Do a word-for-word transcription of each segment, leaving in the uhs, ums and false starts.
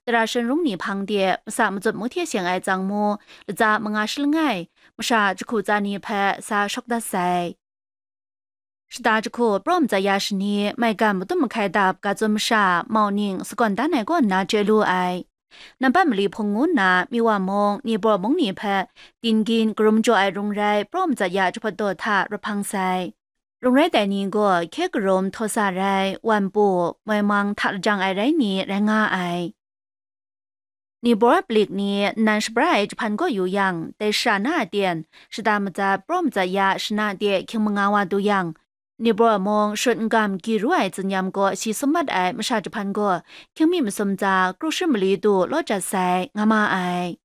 tara shanrung ni hpang de masa matsut mu hte seng ai tsang mu, latsa manga shi langai, masha jahku tsa ni hpe sa shawk dat sai. Shata jahku praw matsat ya shani maigan madum mahkai dap ga tsun masha mauning sagawn dan ai kaw nna chye lu ai. Nambat mali hpung ngu nna Miwa mung, Nibor mung ni hpe dinggying karum jaw ai rung rai praw matsat ya jahpawt daw hta rahpang sai. Rung rai tai ni gaw hkye karum htaw sa rai, wan pu, moi mang hta lajang ai rai ni rai nga ai. Nibor palik ni nnan shabra ai jahpan gaw yu yang, dai shara na a ten, shata matsat praw matsat ya shana de hkying manga wa du yang, Nibor mung shut n-gam gyi ru ai tsinyam gaw si sum mat ai masha jahpan gaw hkying mi masum tsa kru shi mali du law jat sai, nga ma ai.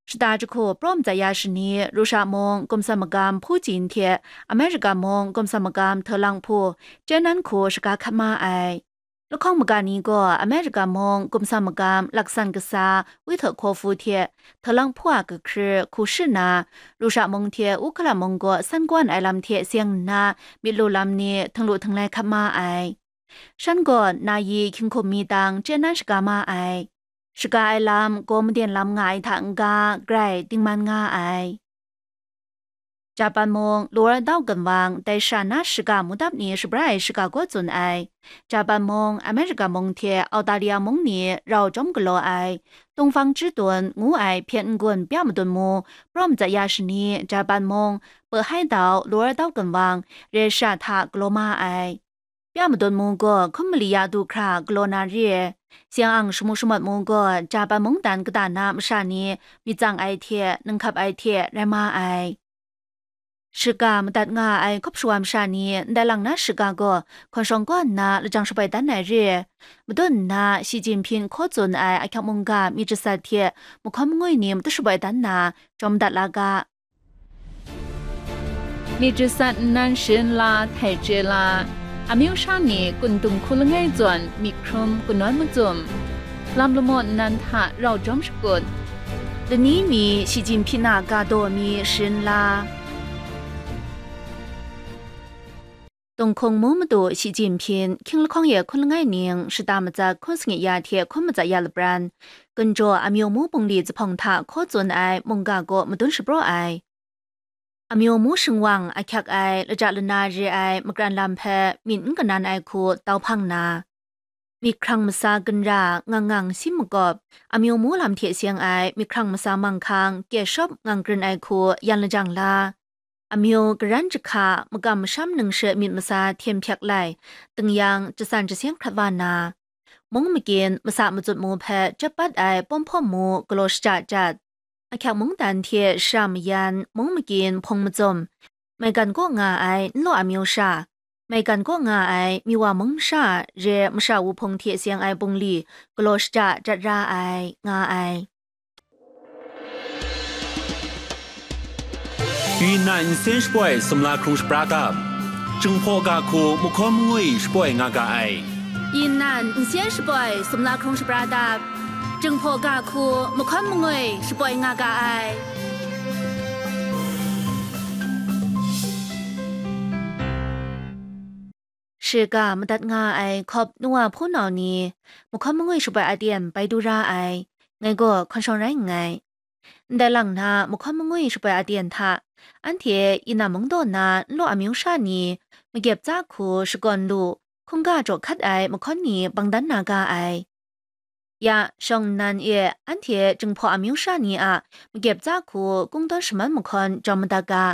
Shata jahku praw matsat ya shani, Rusha mung gumsa magam Putin hte America mung gumsa magam Htalang hpu Chyenan hku shaga hkat ma ai. Lahkawng maga ni gaw America mung gumsa magam laksan kasa Witkofu hte Htalang hpu a kahkri hku shi nna, Rusha mung hte Ukraine mung gaw san kawan ai lam hte seng nna myit lu lam ni htinglu htinglai hkat ma ai. Shan gaw na yi hkying hkum mi tang chyenan shaga ma ai. Shaga ai lam gaw maden lam nga ai hta n-ga, grai dingman nga ai. Japan mung Lower Dao Ginwang dai shara na shaga mudap ni shabra ai shaga gaw tsun ai. Japan mung, America mung hte Australia mung ni rau chyawm galaw ai, Tungfang Chitun ngu ai hpyen n-gun pya madun mu, praw matsat ya shani, Japan mung, Pehai Dao, Lower Dao Ginwang, Russia hta galaw ma ai. Pya madun mu gaw hkum mali ya du hkra galaw na re. Siang ang shamu shamawt mu gaw Japan mungdan kata na masha ni myit tsang ai hte, ninghkap ai hte rai ma ai. Shaga madat nga ai hkawp shawa masha ni ndai lang na shaga gaw hkawn shawng kaw nna lajang shaboi dan ai re. Madun nna Shi Jinping hkaw tsun ai ahkyak mungga myit jasat hte mahkawn mangwi ni matu shaboi dan na jawm dat la ga. Myit jasat nnan sharin la, htai chye la, amyu sha ni kun dung hku langai zawn myit hkrum kanawn macum, lam lamaw nnan hta rau jawm shakut, lani mi Shi Jinping a ga daw mi sharin la. Tunghkung mu madu Shi Jinping, hkying lahkawng ye hkun langai ning, shata matsat hkun sanit ya hte hkun matsat ya lapran, Gunjaw amyu mu bungli zuphpawng hta hkaw tsun ai mungga gaw madun shapraw ai. Amyu mu shingwang ahkyak ai, laja lana re ai makran lam hpe myit n kanan ai hku tau hpang na, myit hkrang masa ginra ngang ngang sim makawp, amyu mu lam hte seng ai myit hkrang masa manghkang kye shawp ngang krin ai hku yan lajang la, amyu garan jahka, makam masham ningshe myit masa hten hpyak lai, tingyan jasan jaseng hkrat wa na, mung magyin masa matsut mu hpe chyap bat ai pawm hpawm mu galaw shaja jat, ahkyak mungdan hte shara mayan, mung magyin hpung macum, maigan kaw nga ai nlaw amyu sha, maigan kaw nga ai Miwa mung sha re masha wuhpung hte seng ai bungli galaw shaja jat ra ai, nga ai. 云南 nsen shapoi sumla hkrung shapra dap, Jinghpaw ga hku mahkawn mangwi shapoi nga ga ai. 云南 nsen shapoi sumla hkrung shapra dap, Jinghpaw ga hku mahkawn mangwi shapoi nga ga ai. Shiga madat nga ai hkawp nuwa hpunau ni, mahkawn mangwi shapoi aten bai du ra ai, ngai gaw hkawn shawng rai nngai. Ndai lang na mahkawn mangwi shapoi aten hta, anhte Yinnan mungdaw na nlaw amyu sha ni, magyep tsa hku shakawn lu, hkungga jaw hkat ai mahkawn ni bang dan na ga ai. Ya, shawng nnan e anhte Jinghpaw amyu sha ni a magyep tsa hku kungdawn shaman mahkawn jawm madat ga.